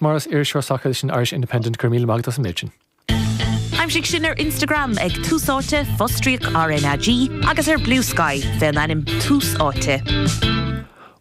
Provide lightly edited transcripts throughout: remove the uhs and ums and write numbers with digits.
Morris, iriseoir sacair leis an Irish Independent, go raibh míle maith agat as an méid sin. Aimsigh sinn ar Instagram ag Tús Áite, fostríoc RnaG, agus ar Bluesky fén ainm Tús Áite.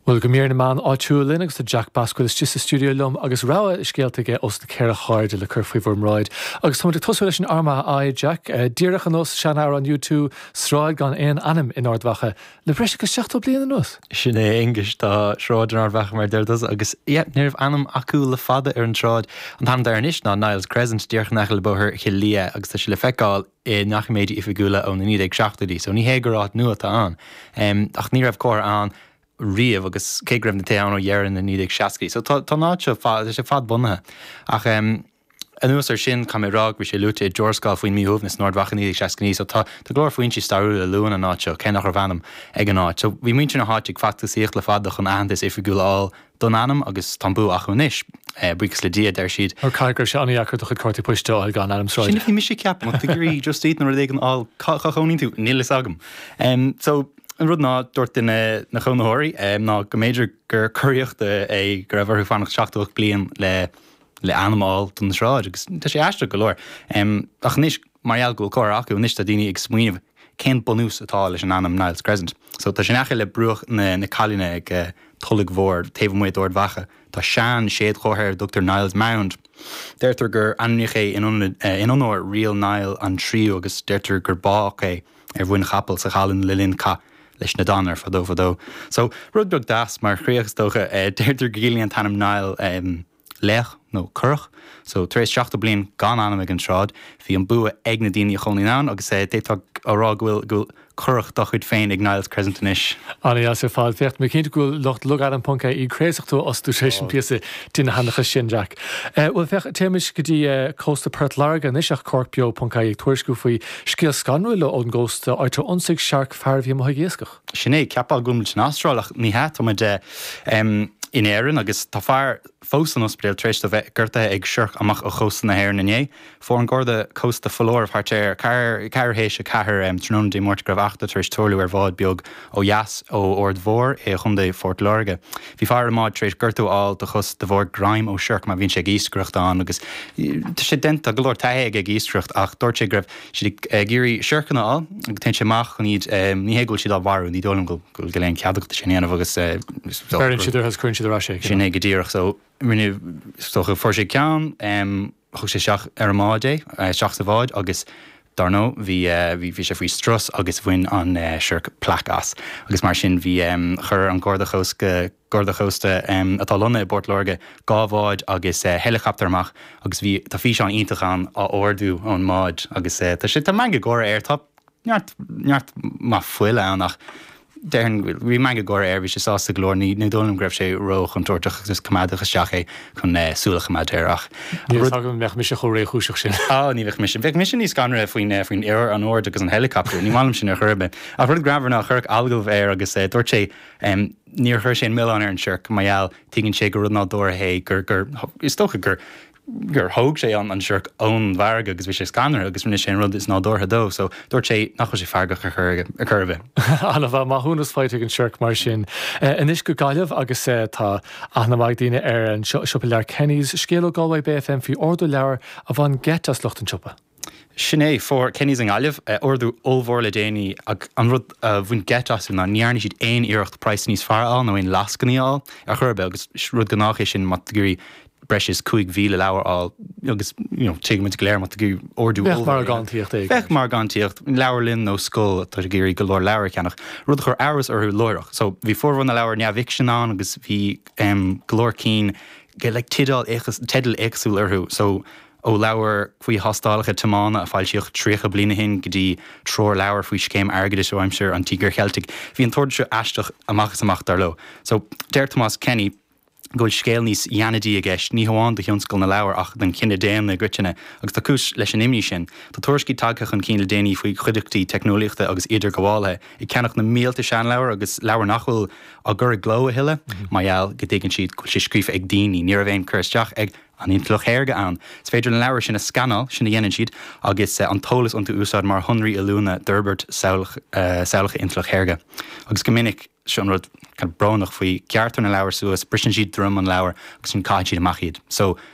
Bhuel, go mír na meán áitiúil linn agus tá Jack Basquille istigh sa stiúideo liom agus rogha scéalta aige ós na ceithre hairde le cur faoi bhur mbráid. Agus táimid ag tosú leis an Armagh Eye, Jack. Díreach ar nós sean-amhrán U2, sráid gan aon ainm in Ard Mhacha. Le breis agus 70 bliain anuas. Sin é, a Aonghuis, tá sráid in Ard Mhacha mar a deir tusa agus yeah, ní raibh ainm acu le fada ar an tsráid. An t-ainm atá air anois ná Niles Crescent, díreach in aice le Bóthar Chill Lia agus tá sé le feiceáil i ndoiciméidí oifigiúla ó na 1970idí, so ní hé gur áit nua atá ann. Ach ní raibh comhartha ann riamh agus cé go raibh na tithe ann ó dheireadh na 1960idí. So tá an áit seo, tá sé fadbhunaithe. Ach. Anuas air sin, caithfidh mé a rá go bhfuil sé luaite i dtuarascáil faoin míshuaimhneas in Ard Mhacha 1969, so tá tá go leor foinsí stairiúla a luann an áit seo, cé nach raibh ainm ag an áit. So bhí muintir na háite ag feachtasaíocht le fada chun aitheantas oifigiúil a fháil don ainm agus tá an bua acu anois, buíochas le Dia, a deir siad. Mar caithfidh go raibh sé an-dheacair do chuid cártaí poist a fháil gan ainm sráide. Sin a bhí mise ag ceapadh, má tá tú ag iarraidh Just Eat nó rud éigin a fháil, cá cá chónaíonn tú? Níl fhios agam. So an rud ná, dúirt duine na cónaitheoirí ná go mb'fhéidir gur coraíocht é go raibh orthu fanacht 78 bliain le le ainm a fháil don sráid agus tá sé aisteach go leor. Ach anois, mar gheall go bhfuil comhartha acu, anois tá daoine ag smaoineamh cén bunús atá leis an ainm Niles Crescent. So tá sé in aice le bruach na na Caillinne ag Tulaigh Mhór taobh amuigh d'Ard Mhacha. Tá sean séadchomhartha ar a dtugtar Niles Mound. Deirtear gur ainmníodh é in in onóir Rí Niall an Tríú agus deirtear gur bádh é ar mhuin chapaill sa Challainn le linn cath leis na Danair fadó fadó. So rud beag deas mar chríoch is dócha. Deirtear go gciallaíonn an t-ainm Niall laoch nó curach. So tar éis 70 bliain gan ainm ag an tsráid, bhí an bua ag na daoine a chónaíonn ann agus d'fhéadfá a rá go bhfuil go bhfuil curach dá chuid féin ag Niles Crescent anois. An-dheas ar fad. Féach, tá mé cinnte go bhfuil lucht logainm ponc ie craosach tú a fhostú tar éis an píosa donnseanchas sin, Jack. Bhuel, féach, téimis go dtí cósta Port Láirge anois ach Cork Beo ponc ie ag tuairisciú faoi scéal scanrúil ón gcósta, áit ar ionsaigh searc fear a bhí amuigh ag iascach. Sin é, cheapfá go bhfuil muid san Astráil ach ní hea, tá muid in Éirinn agus tá fear fós san ospidéal tar éis dó bheith gortaithe ag siorc amach ó chósta na hÉireann inné. Fuair an Garda Cósta foláireamh thart ar ceathrú théis a ceathair tráthnóna Dé Máirt go raibh eachtra tar éis tarlú ar bhád beag ó dheas ó Aird Mhór i gContae Phort Láirge. Bhí fear ar an mbád tar éis gortú a fháil do chos de bharr greim ó siorc mar bhíonn sé ag iascaireacht ann agus tá sé déanta, tá go leor taithí aige ag iascaireacht ach dúirt sé go raibh siad ag iarraidh siorcanna a fháil agus téann sé amach chun iad, ní hé go bhfuil siad á mharú, ní dóigh liom go bhfuil aon chead agat sin a dhéanamh agus. Beireann siad orthu agus cuireann siad ar ais é. Sin é go díreach. So rinne, is dócha, fuair sé ceann, thug sé isteach ar an mbád é, isteach sa bhád agus dar ndóigh bhí, bhí sé faoi strus agus bhain an siorc plaic as agus mar sin bhí, chuir an Garda Chósta, Garda Cósta atá lonnaithe i bPort Láirge 2 bhád agus heileacaptar amach agus bhí, tá físeán iontach ann á ardú ón mbád agus tá sé, tá meangadh gáire air, tá neart, neart maith fuile ann ach déarfainn, bhí meangadh gáire air, bhí sé sásta go leor, ní, ní dóigh liom go raibh sé ró-chontúirteach agus coimeádadh isteach é chun súil a choimeád air ach. Níl a fhios agam an mbeadh mise chomh réchúiseach sin. Á, ní bheadh mise. Bheadh mise níos scanraithe faoin, faoin an ord agus an heileacaptar, ní maith liom sin ar chor ar bith. Ach rud greannmhar ná cuireadh agallamh air agus dúirt sé, Níor chuir sé an milleán ar an siorc mar gheall, tuigeann sé gur rud nádúrtha é, gur, gur, is dócha gur, gur thóg sé an, an siorc ón bhfarraige agus bhí sé scanraithe agus rinne sé an rud is nádúrtha dó. So, dúirt sé nach bhfuil sé feargach ar chor, ar chor ar bith. An-mhaith, maithiúnas faighte ag an siorc mar sin. Anois go Gaillimh agus tá aithne mhaith ag daoine ar an siopa leabhar Kenny's. Scéal ó Galway Bay FM faoi ordú leabhar a bhain geit as lucht an tsiopa. Sin é, fuair Kenny's i nGaillimh ordú ollmhór le déanaí ach an rud a bhain geit astu ná ní dhearna siad aon iarracht praghas níos fearr a fháil nó aon lascainí a fháil ar chor ar bith agus rud gnách é sin má tá tú ag iarraidh breis is 5,000 leabhar a fháil agus you know tuigimid go léir má tá tú ag iarraidh ordú Bheadh margántaíocht éigin. Bheadh margántaíocht, leabharlann nó scoil atá ag iarraidh go leor leabhar a cheannach, rud a chuir amhras orthu láithreach. So bhí formhór na leabhar neamhfhicsin ann agus bhí go leor cinn like teideal teidil éagsúil orthu so Ó leabhar faoi thástálacha tiomána a foilsíodh 30 bliain ó shin go dtí treoirleabhar faoi scéim airgeadais ó aimsir an Tíogair Cheiltigh, bhí an t-ordú seo aisteach amach is amach, dar leo. So, deir Tomás Kenny go bhfuil scéal níos deannaidí i gceist, ní hamháin do thionscal na leabhar ach don chine daonna i gcoitinne, agus tá cúis leis an imní sin. Tá tuairiscí tagtha chun cinn le déanaí faoi chuideachtaí teicneolaíochta agus idirghabhálaithe ag ceannach na mílte seanleabhar agus leabhair nach bhfuil á gcur i gcló a thuilleadh mar gheall go dtuigeann siad go bhfuil sé scríofa ag daoine. Ní raibh aon cur isteach ag an intleacht shaorga ann. Is féidir na leabhair sin a scanáil, sin a dhéanann siad, agus an t-eolas iontu a úsáid mar shonraí oiliúna d'fhorbairt samhlacha intleacht shaorga. Agus go minic. Seo an rud kind of brónach faoi, gearrtar na leabhair suas, briseann siad droim an leabhair agus ansin caitheann siad amach iad. So.